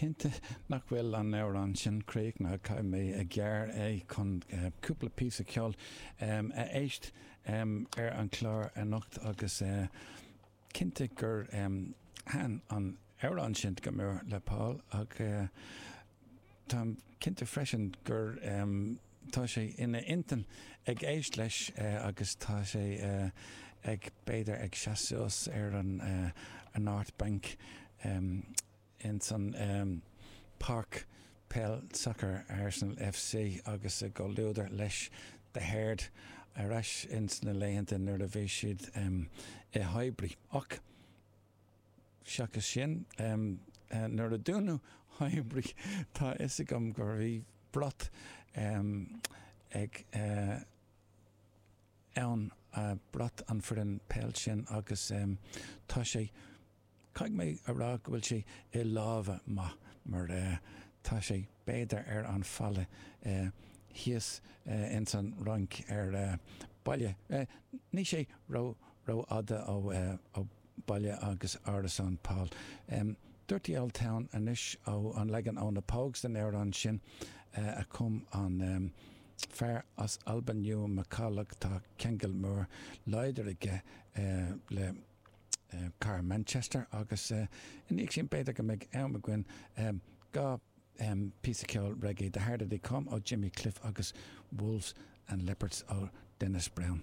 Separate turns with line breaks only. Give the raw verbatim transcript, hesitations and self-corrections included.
Cinnte nach bhfuil an amhrán sin críochnaithe caithfidh mé a ghearradh é chun uh, cúpla píosa ceoil um, a éist um, ar an chlár anocht agus uh, cinnte gur um, thaitin an amhrán sin go mór le Paul ach uh, Táim cinnte freisin gur um, tá sé ina intinn ag éisteacht leis uh, agus tá sé uh, ag b'fhéidir ag seasamh ar an uh, an North Bank um, in san um, Park Peil Soccer Arsenal FC agus i gcomhluadar leis The Herd ar ais ins na laethanta nuair a bhí siad um, i Highbury ach seachas sin um, uh, nuair a dúnadh Highbury tá is agam gur bhí brat um, ag uh, ann uh, brat an foireann peil sin agus um, tá sé Caithfidh mé a rá go bhfuil sé i lámha maith mar uh, tá sé b'fhéidir ar an falla uh, thíos uh, in san Fhrainc ar uh, baile. Uh, ní sé ró rófhada ó, uh, ó baile agus árasán Paul. Um, Dirty Old Town anois ó an leagan ó na Pogues den amhrán sin uh, a chum an um, fear as Albain Ewan MacCulloch tá ceangal mór láidir aige uh, le uh, cathair Manchester agus uh, in sin b'fhéidir go mbeidh am againn um, dhá um, píosa ceoil reggae The Harder They Come ó Jimmy Cliff agus Wolves and Leopards ó Dennis Brown.